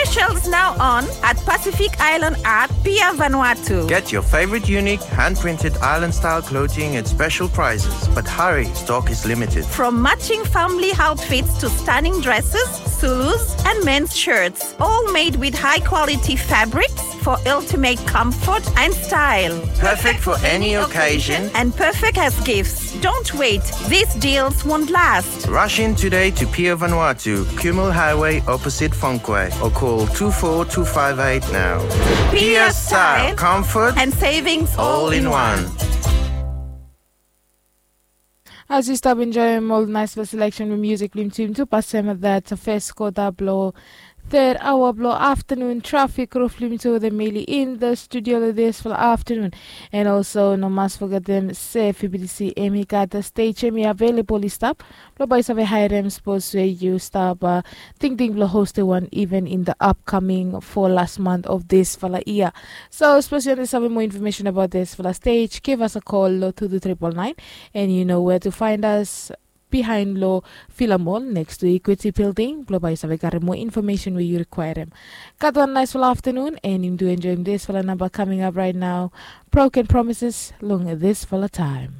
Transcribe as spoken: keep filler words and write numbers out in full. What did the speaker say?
Specials now on at Pacific Island at Pier Vanuatu. Get your favorite unique hand-printed island-style clothing at special prices, but hurry, stock is limited. From matching family outfits to stunning dresses, Zulus, and men's shirts, all made with high-quality fabrics for ultimate comfort and style. Perfect for any occasion and perfect as gifts. Don't wait, these deals won't last. Rush in today to Pier Vanuatu, Kumul Highway, opposite Fonquay, or call two four two five eight now. Pier style, comfort, and savings all in one. As yu stap enjoyim ol naisfala selection blong music blong yumi tu, yumi tu pasem that first quarter blong third hour blong afternoon traffic roof blong yumi tu, the Mili in the studio lo this for afternoon. And also no mas forgetem se F B T C em i gat stage em i available i stap blong bae yu save haerem sapos we yu stap uh, tingting blong hostem wan event in the upcoming for last month of this fala year. So sapos yu want to save more information about this fala stage, give us a call lo two two triple nine, and you know where to find us behind lo Fila Mall next to Equity Building blong bae yu save karem more information we yu requirem. Gat wan naisfala afternoon, and yumi tu enjoyim disfala namba coming up right now, Broken Promises long disfala time.